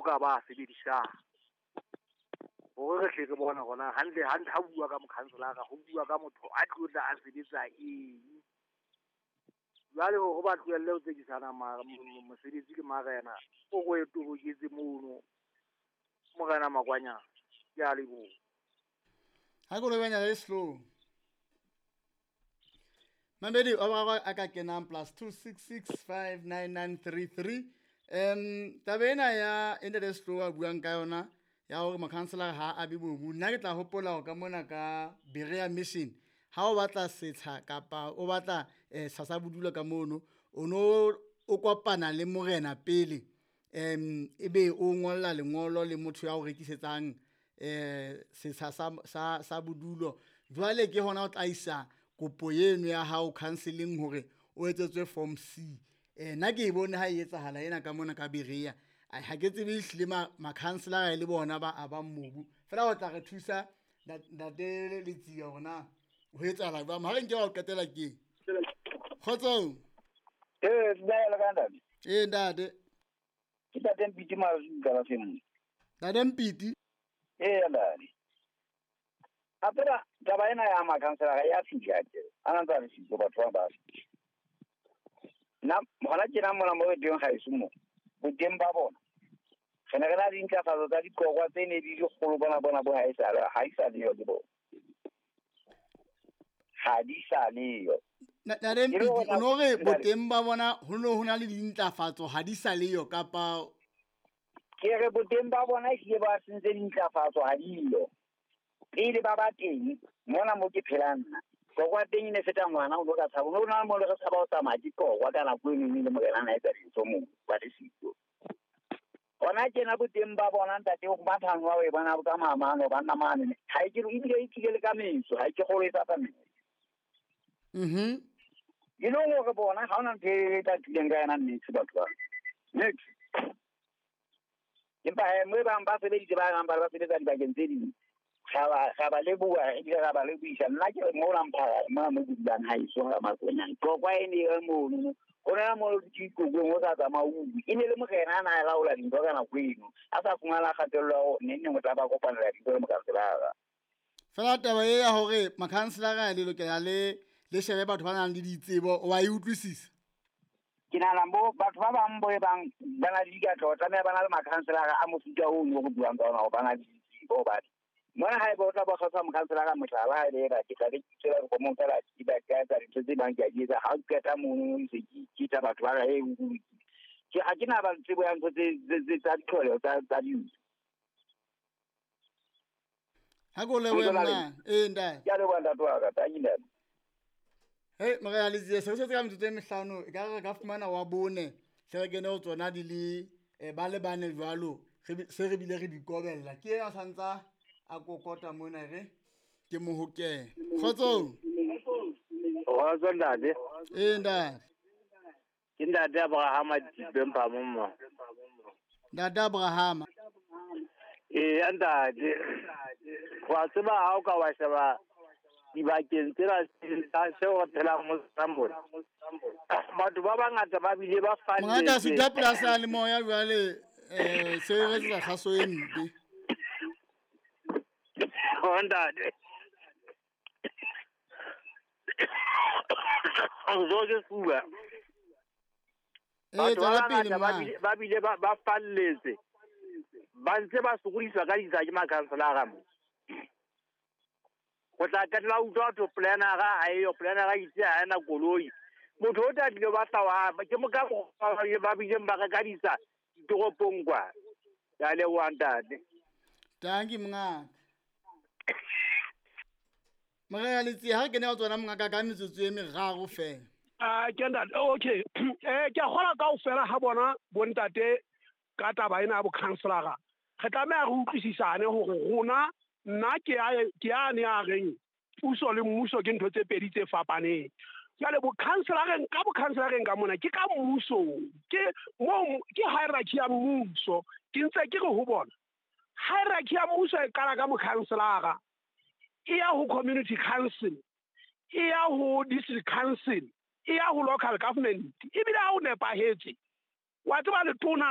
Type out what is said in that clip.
dikgoka ba sebedisang. Hore re tle re bone hore na hantle hantle ha bua ka mokhanselara ho bua ka motho a tlo tla a sebetsa eng. Jwale hore ba tlohelle ho tsekisana mosebetsi le marena, o ko e toboketse mono Morena Makwanyane. Ke a leboha. Ha ke lobenya le slow. Mamedi o ba a ka kenang +266 59933. Taba ena ya ene slow a buang ka yona ya hore mokhanselara ha a be mobu. Nna ke tla hopola hore ka mona ka Berea Mission ha o batla setsha kapa o batla setsha sa bodulo ka mono, o no o kopana le morena pele, ebe o ngolla lengolo le motho ya o rekisetsang setsha sa bodulo. Jwale ke hona o tla isa kopo eno ya hao counseling hore o etsetswe form C. Nna ke e bone ha e etsahala ena ka mona ka Berea. Ha ke tsebe ehlile makhanselara le bona ba abang mobu. Fela o tla re thusa ntate Letsia hore na ho etsahala jwang. Ha re nke wa o qetela ke. Kgotsong. Dumela ka ntate. Ntate. Ke ntate Mpiti Mazuka la feng. Ntate Mpiti. Ntate. A tseba taba ena ya makhanselara ya fihla ke. A ntse a re sitso batho ba fihla. Nna hona tjena mona mo re teng ha eso mo. Boteng ba bona. Re ne re na le dintlafatso tsa diqokwa tse ne di dikgolo bona bo ha e sa leyo ke bona. Ha di sa leyo. Ntate Mpiti, o no re boteng ba bona ho no ho na le dintlafatso ha di sa leyo kapa ke re boteng ba bona ehlile ba sentse dintlafatso ha di yo. Pele ba ba teng mona mo ke phelang nna. Qokwa teng e ne feta ngwana o ka tshaba. No na mo le re tshaba ho tsamaya ke qokwa ka nako eno le morena na etsa dintho moo ba le sitso. Hona tjena boteng ba bona ntate o mathang wa e bona ka mamano ba nna mane. Ha e ke ebile e tlile le ka metso, ha e ke kgolo e tsa metso. E le hore bona ha ona ntho e tla tlileng ka yona nnete batho ba. Nnete. Empa mo e bang ba sebeditse ba bang ba sebetsa dibakeng tse ding. Ga ba leboha ebile ga ba lebohisa. Nna ke re mona mphara mona mo ke dulang ha eso ga Makwanyane. Qokwa e ne e mono. Ho na mo ke ikokong o sa tsamaya o bue. E ne le morena a na a laola dintho ka nako eno. A sa fumana kgatello ya hore neng o tla ba kopanela dintho le mokhanselara. Fela taba e ya hore makhanselara le lokela le shebe batho ba nang le ditsebo, wa e utlwisisa? Ke nahana bo batho ba bang bo e bang ba na le dikatleho, tlameha ba na le makhanselara a mofuta ono o re buang ka ona hore ba na le ditsebo hobane mona ha eba o tla ba kgetha mokhanselara mohlala ha ebe ke tla be ke tswela dikgomong fela ke ba ka etsa dintho tse bang ke a di etsa. Ha o qeta mono ntse ke tsa batho ba re o lokile. Ke ha ke na ba tsebo ya ntho tse tsa ditlholeho tsa dintho. Ha ko lebohe mna. Ntate. Ke a leboha ntate wa ka, thank you ntate. Hey, Morena Letsia, se re setse ka metsotso e mehlano, e ka re ka fumana wa bone, se re kene ho tsona di le ba le bane jwalo, se re bile re di kobella. Ke ena santsa a kokota mona re ke mohokele. Kgotsong. Kgotso ntate. Ntate. Ke ntate Abrahama Dipempa moma. Ntate Abrahama. Ntate. Wa tseba ha o ka wa sheba dibakeng tsena tsa seo re phelang mo tsona mona. Batho ba bangata ba bile ba falletse. Mongaka suta polasi le moya jwale se re etsa kgaso e mpe. Ntate. Zo ke fuwa. Batho ba bangata ba bile ba falletse. Ba ntse ba sokodiswa ka ditsha ke makhanselara mo. O tla qetella utlwa ho planera ha eyo, planera itse ha ena koloi. Motho o tla tlile ba tla wa ke mo ka ba bileng ba reka ditsha ditoropong kwa. Ke a leboha ntate. Thank you mongaka. Morena Letsia, ha re kene ho tsona mongaka ka metsotso e meraro fela. Ke ntate, okay. Ke a kgolwa kaofela ha bona bontate ka taba ena ya bokhanselara. Re tlameha re utlwisisane hore rona nna ke a ne a reng puso le mmuso ke ntho tse pedi tse fapaneng. Jwale bokhanselareng ka bokhanselareng ka mona ke ka mmusong, ke mo ke hierarchy ya mmuso. Ke ntse ke re ho bona hierarchy ya mmuso e qala ka mokhanselara, e ya ho community council, e ya ho district council, e ya ho local government, ebile ha o nepahetse wa tseba letona